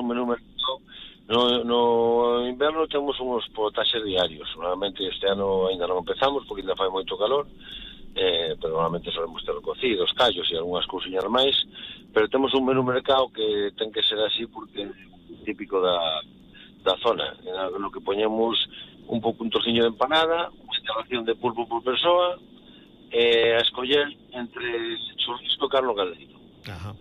un menú mercado. No inverno temos uns potaxes diarios. Normalmente este ano ainda non empezamos porque ainda fai moito calor, pero normalmente solemos ter cocidos, callos e algunhas cousiñas máis, pero temos un menú mercado que ten que ser así porque é típico da zona, no que poñemos un trociño de empanada, unha ración de pulpo por persoa, a escoller entre churrasco e carne caldeiro. Ajá.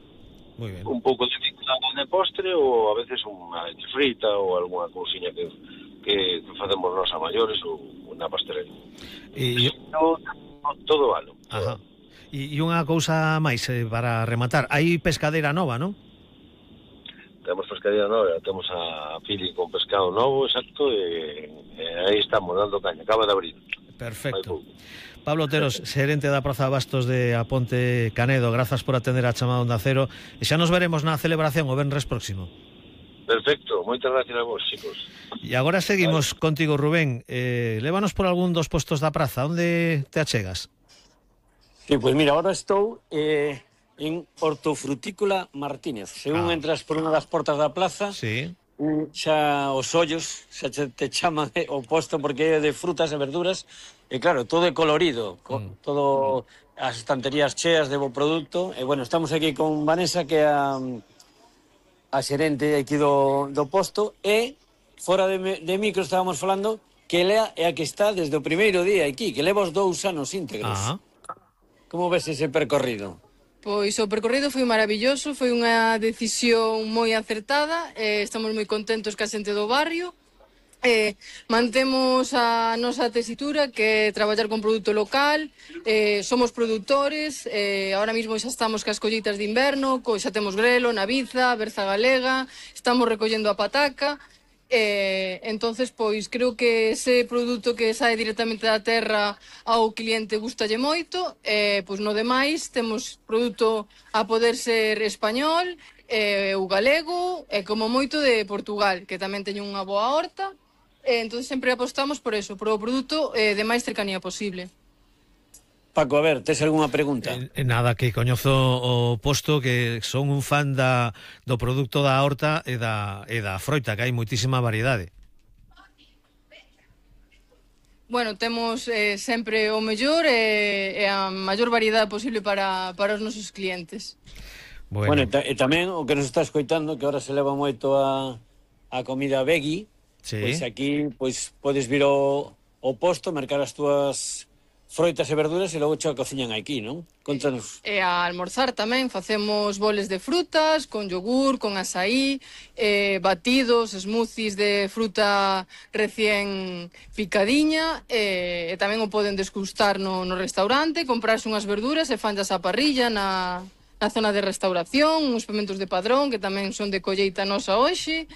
Muy bien. Un pouco de postre ou a veces unha leche frita ou algunha cousiña que facemos nós a maiores ou na pastelería. Todo valo. Ajá. E unha cousa máis para rematar, hai pescadeira nova, non? Temos pescadeira nova, temos a Fili con pescado novo, exacto, e aí estamos dando caña, acaba de abrir. Perfecto. Pablo Oteros, xerente da Praza de Bastos de Aponte Canedo, grazas por atender a chamada Onda Cero e xa nos veremos na celebración o venres próximo. Perfecto, moitas gracias a vos, chicos. E agora seguimos contigo, Rubén. Lévanos por algún dos postos da praza, onde te achegas? Sí, pues mira, ahora estou en Hortofrutícola Martínez. Según entras por unha das portas da plaza, sí, xa os ollos xa te chaman o posto porque é de frutas e verduras. E claro, todo é colorido, todo as estanterías cheas de bo produto. E bueno, estamos aquí con Vanessa, que é a xerente aquí do posto, e fora de micro estábamos falando que ela é a que está desde o primeiro día aquí, que leva os 2 anos íntegros. Como ves ese percorrido? Pois o percorrido foi maravilloso, foi unha decisión moi acertada, estamos moi contentos ca xente do barrio. Mantemos a nosa tesitura, que é traballar con produto local, somos produtores, ahora mismo xa estamos cas colleitas de inverno, xa temos grelo, naviza, berza galega, estamos recollendo a pataca, entonces pois creo que ese produto que sae directamente da terra ao cliente gustalle moito, pois no demais temos produto a poder ser español, o galego e como moito de Portugal, que tamén teñen unha boa horta. Entón sempre apostamos por eso, por o produto de máis cercanía posible. Paco, a ver, tes algunha pregunta? Nada, que coñezo o posto, que son un fan do produto da horta e da froita, que hai moitísima variedade. Bueno, temos sempre o mellor e a maior variedade posible para os nosos clientes. Bueno, e tamén o que nos está escoitando, que ahora se leva moito a comida veggie. Sí. Pois aquí podes vir ao posto, mercar as túas froitas e verduras e logo xa cociñan aquí, non? Contanos. E a almorzar tamén facemos boles de frutas, con yogur, con açaí, batidos, smoothies de fruta recén picadiña, e tamén o poden desgustar no restaurante, comprarse unhas verduras e fanllas á parrilla na zona de restauración, uns pimentos de Padrón, que tamén son de colleita nosa hoxe,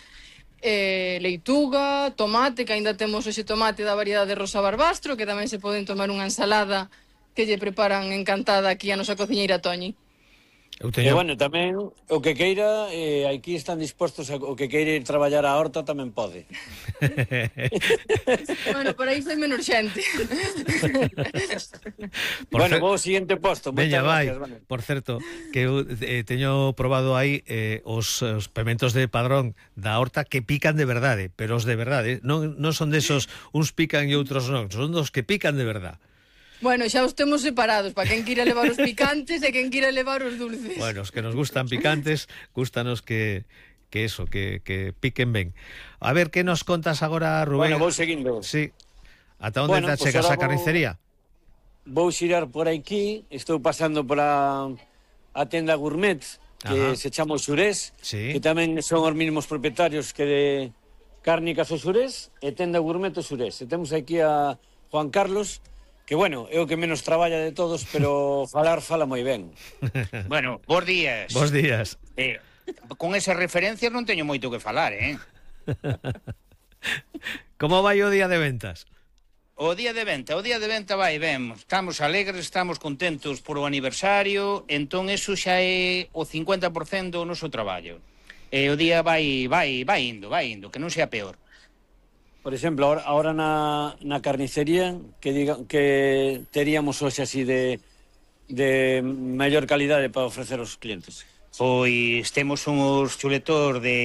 leituga, tomate, que aínda temos hoxe tomate da variedade de Rosa Barbastro, que tamén se poden tomar unha ensalada que lle preparan encantada aquí a nosa cociñeira Toñi. E bueno, tamén o que queira, aquí están dispostos o que queira ir traballar a horta tamén pode. Bueno, para iso é menos xente. Bueno, vou ao seguinte posto. Veña, vai. Por certo, que eu teño probado aí os pementos de Padrón da horta que pican de verdade, pero os de verdade, non son desos, uns pican e outros non, son dos que pican de verdade. Bueno, xa os temos separados, para quen quira levar os picantes e quen quira levar os dulces. Bueno, os que nos gustan picantes, gustanos que piquen ben. A ver, que nos contas agora, Rubén? Bueno, vou seguindo. Sí. Ata onde te chegas a carnicería? Vou xirar por aquí, estou pasando por a tenda Gourmet, que se chama o Xurés, que tamén son os mesmos propietarios que de Cárnicas o Xurés, e tenda Gourmet o Xurés. E temos aquí a Juan Carlos, que, bueno, é o que menos traballa de todos, pero fala moi ben. Bueno, bons días. Bons días. Con esas referencias non teño moito que falar, Como vai o día de ventas? O día de venta vai ben. Estamos alegres, estamos contentos por o aniversario, entón eso xa é o 50% do noso traballo. E o día vai indo, que non sea peor. Por exemplo, ahora na carnicería, que teríamos hoxe así de mellor calidade para ofrecer aos clientes? Pois temos uns chuletor de